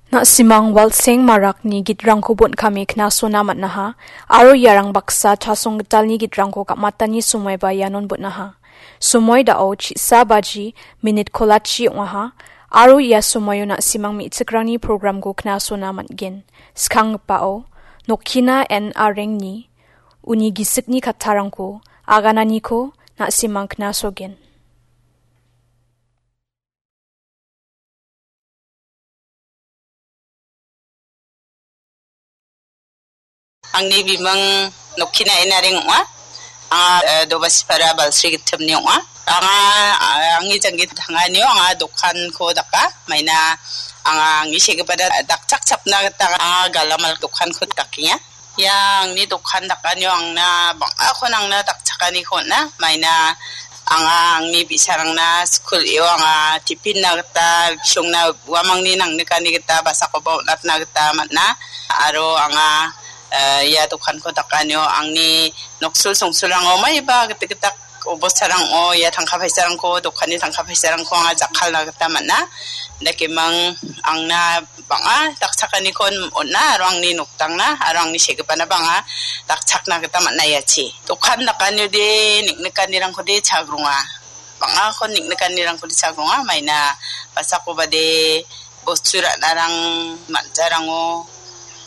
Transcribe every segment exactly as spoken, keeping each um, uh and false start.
Na·simang Walseng Marakni gitrangko bon·kame knasona man·aha, aro iarang baksa chasong gitalni gitrangko ka·matani somoiba ianon bon·aha. Somoi da·o chisa baji minit kolachi ong·aha, aro ia somoio na·simang me·chikrangni programko knasona man·gen. Skanggipao, Nokkina N Arengni uni gisikni kattarangko agananiko na·simang knasogen. Angni bimang Nokkina N Areng ong·a. Anga, eh, Dobasipara Balsri Gittimni ong·a. Anga, eh, angni janggi tanganio anga dokanko daka. Maina anga angni segipana dakchakchapna gita anga galamal dokanko dakenga. Ia angni dokan dakanio angna bang·akon angna dakchakaniko on·a. Maina anga angni bi·sarangna skul eo anga tiffin-na gita, bisongna uamangni nangnikani gita basakoba on·atna gita man·a. Aro anga, eh, ia dokanko dakanio angni noksul songsulrango maiba gitikgitak obostarang ong·o, ia tangka paisarangko, dokanni tangka paisarangko anga jakkalna gita man·a. Dakemang angna bang·a dakchakaniko on·a, aro angni noktangna, aro angni segipana bang·a dakchakna gita man·a iachi. Dokan dakaniode neng·nikanirangkode chagronga. Bang·akon neng·nikanirangkode chagronga, maina basakobade bostu ra·narang, man·jarango,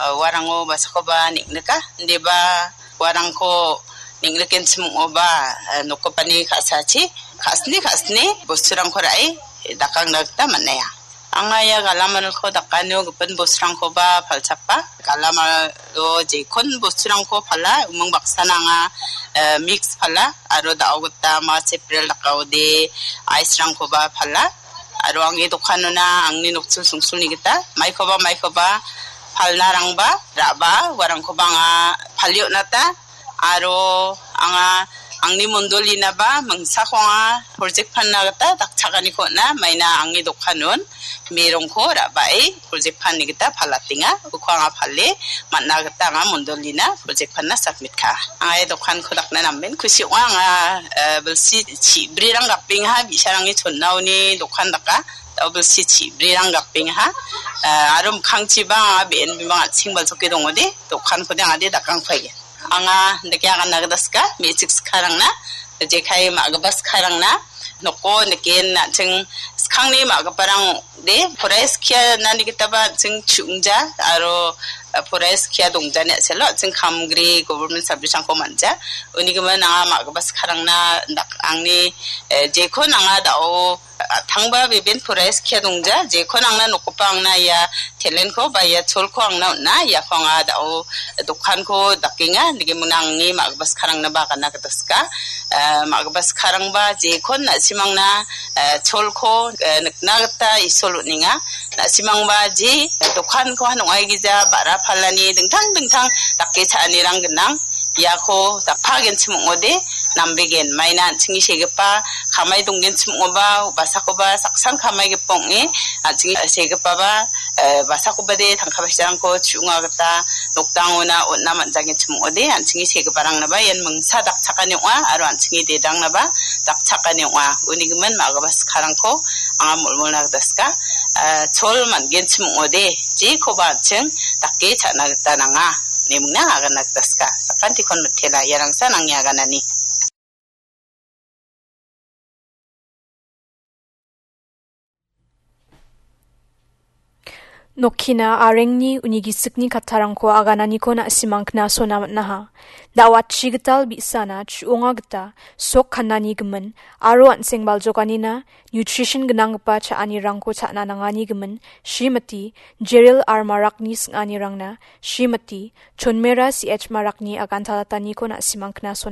eh, uarango basakoba neng·nika. Indeba uarangko neng·rikenchim ong·oba, eh, nokgipani ka·sachi ka·sni ka·sni bosturangko ra·e dakangna gita man·aia. Anga ia galamalko dakanio gipin bosturangkoba palchapa. Galamalo jekon bosturangko pala, umang baksana anga, eh, mix pala, aro da·o gita ma April dakaode ice-rangkoba pala. Aro angni dokanona angni nokchil songchilni gita maikoba maikoba palnarangba ra·ba uarangkoba anga palie on·ata. Aro anga angni mondolinaba mingsako anga project panna gita dakchakaniko on·a, maina angni dokanon merongko ra·bae project panni gita palatenga. Uko anga pale man·a gita anga mondolina project panna submit ka. Anga ia dokanko dakna namen kusi ong·a. Anga, eh, bilsi chibrirang gapengaha, bi·sarangni chonnaoni dokan daka. Da·o bilsi chibrirang gapengaha. Eh, aro mikkangchiba anga be·en bimang an·ching baljoke dongode, dokankode angade dakangpaia. Anga dake aganna gita sika, me·chik sikarangna, jekai ma·gipa sikarangna, noko niken an·ching skangni ma·giparang de poraia skia nani gitaba an·ching chu·ongja aro, eh, poraia skia dongjani a·selo an·ching kamgri government service-rangko man·ja. Uni gimin anga ma·gipa sikarangna dak-, angni, eh, jekon anga da·o a·tangba beben poraia skia dongja, jekon angna nokgipa angna ia talent-ko ba ia cholko angna on·a, iako anga da·o dokanko dakenga, nigimingna angni ma·gipa sikarangna ba aganna gita sika. Eh, ma·gipa sikarangba jekon na·simangna, eh, cholko, eh, nikna gita Isol on·enga. Na·simangba je dokanko han ong·aigija ba·ra palani dingtang dingtang dake cha·anirang gnang. Iako dakpagenchim ong·ode, nambegen. Maina an·chingni segipa kamai donggenchim ong·oba, basakoba saksan kamaigipa ong·e, an·chingni segipaba, eh, basakobade tangka paisarangko chu·onga gita nokdangona on·na man·jagenchim ong·ode, an·chingni segiparangnaba ian mingsa dakchakani ong·a, aro an·chingni dedangnaba dakchakani ong·a. Uni gimin ma·gipa sikarangko anga molmolna gita sika, eh, chol man·genchim ong·ode, jekoba an·ching dake cha·na gita nanga, ine mingna aganna gita sika. Sakantikon mitela, iarangsan angni aganani. Nokkina Arengni uni gisikni kattarangko agananiko na·simang knasona man·aha. Da·o atchi gital bi·sana chu·onga gita sok kannani gimin aro an·seng baljokanina nutrition gnanggipa cha·anirangko cha·na nangani gimin Srimati Jeril R Marakni sing·anirangna Srimati Chonmera C H Marakni agantalataniko na·simang knasona